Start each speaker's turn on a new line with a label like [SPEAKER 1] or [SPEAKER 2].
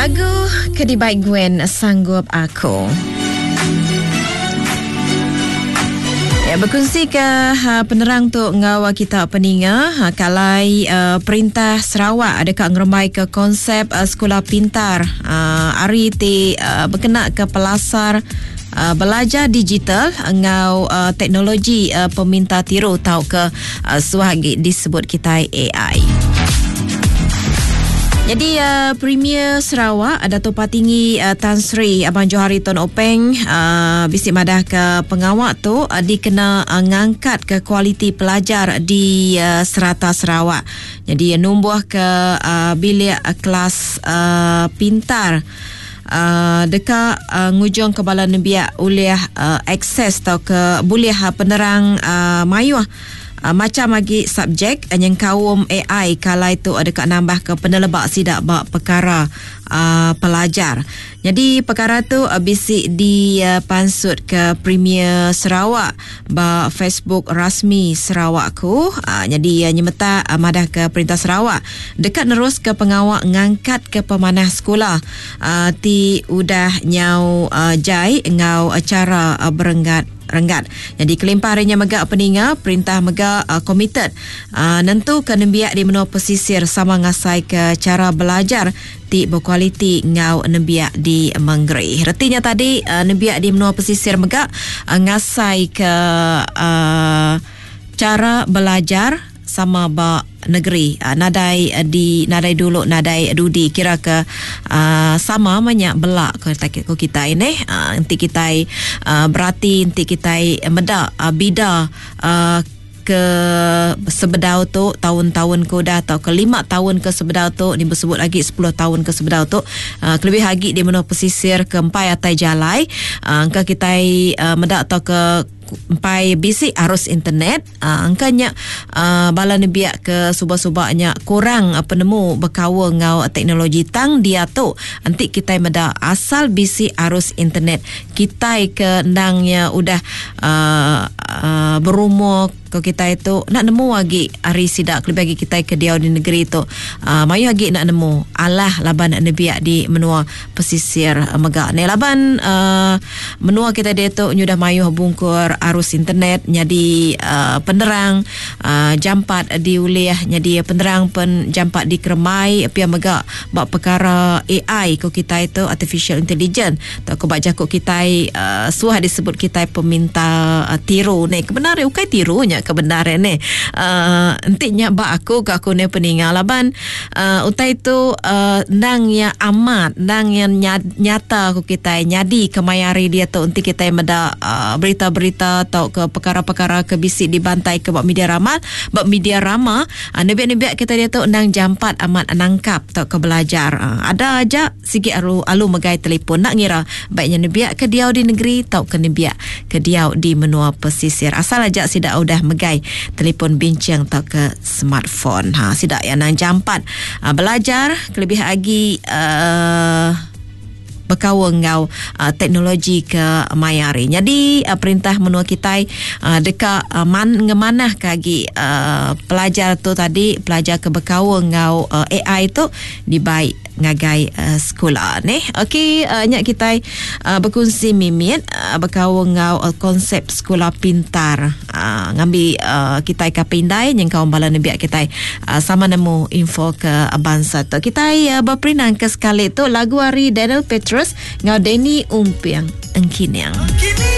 [SPEAKER 1] Lagu ke dibai Gwen Sanggup Aku. Ya, berkongsi ke ha, penerang tu enggau kita peninga ha, kalai uh, perintah Sarawak deka ngerembai ke konsep uh, sekolah pintar uh, ari ti uh, berkena ke pelasar uh, belajar digital enggau uh, teknologi uh, peminta tiru tauka uh, suah agi disebut kitai AI. Jadi uh, Premier Sarawak Dato Patinggi uh, Tan Sri Abang Johari Tun Openg uh, bisi madah ke pengawa tu uh, dikena uh, ngangkat ke kualiti pelajar di uh, serata Sarawak. Jadi uh, numbuh ke uh, bilik uh, kelas uh, pintar uh, deka uh, ngujung ke bala nembiak ulih uh, akses tau ke bulih uh, penerang uh, mayuh uh, macam agi subjek uh, nyengkaum AI kalai tu uh, deka nambah ke peneleba sida ba perkara uh, pelajar. Jadi perkara tu uh, bisi dipansut uh, ke Premier Sarawak ba Facebook rasmi Sarawakku. Uh, jadi uh, nyemetak uh, madah ke Perintah Sarawak deka nerus ke pengawa ngangkat ke pemanah sekula uh, ti udah nyau uh, jai enggau uh, cara uh, berenggat renggat. Jadi kelimpah ari nya mega peninga perintah mega uh, komited uh, nentu ke nembiak di menua pesisir sama ngasai ke cara belajar ti bekualiti enggau nembiak di mengeri. Reti nya tadi uh, nembiak di menua pesisir mega uh, ngasai ke uh, cara belajar sama ba negeri uh, nadai uh, di nadai dulu nadai dudi kira ke uh, sama menya bela ko ko kita ini uh, enti kita uh, berati enti kita meda uh, bida uh, ke sebedau tu taun-taun ke udah atau ke 5 tahun ke sebedau tu ni bersebut lagi 10 tahun ke sebedau tu uh, kelebih lagi di menua pesisir ke empai atai jalai uh, engka kita uh, meda atau ke empai bisi arus internet uh, engka nya uh, bala nebiak ke suba-subanya kurang uh, penemu berkaul enggau teknologi tang dia tu enti kita meda asal bisi arus internet kita ke endangnya udah uh, uh, berumur ko kita itu nak nemu lagi hari sidak lebih lagi kita ke diau di negeri tu uh, mayu lagi nak nemu alah laban nebiak di menua pesisir uh, mega ni laban uh, menua kita dia tu nyudah mayu bungkur arus internet jadi uh, penerang uh, jampat diulih jadi penerang pen jampat dikeremai pia mega bak perkara AI ko kita itu artificial intelligence Tau ko ba jaku kitai uh, suah disebut kitai peminta uh, tiru ni. Kebenar ukai tiru nya kebenar ni. Uh, enti nya ba aku ke aku ni peninga laban uh, utai tu uh, ndang ya amat, ndang ya nyata ku kitai nyadi kemaya hari dia tu enti kitai meda uh, berita-berita atau ke perkara-perkara ke bisi dibantai ke ba media rama, ba media rama uh, nebiak-nebiak kita dia tu ndang jampat amat nangkap atau ke belajar. Uh, ada aja Sigi aru alu megai telefon enda ngira baik nya nembiak ke diau di negeri tauka nembiak ke diau di menua pesisir. Asal aja sida udah megai telefon binching tauka smartphone. Ha sida iya nang jampat uh, belajar kelebih agi uh, bekaul enggau uh, teknologi ke maya hari. Jadi uh, perintah menua kitai uh, deka uh, man ngemanah ke agi uh, pelajar tu tadi pelajar ke bekaul enggau uh, AI tu dibai ngagai uh, sekula neh. Okey, uh, nya kitai uh, berkongsi mimit uh, bekaul enggau uh, konsep sekula pintar. Uh, ngambi uh, kitai ka pindai nyengkaum bala nembiak kitai uh, sama nemu info ke bansa tu. Kitai uh, berperinang ke sekali tu lagu ari Daniel Petrus enggau Danny Umping Engkining. Engkining.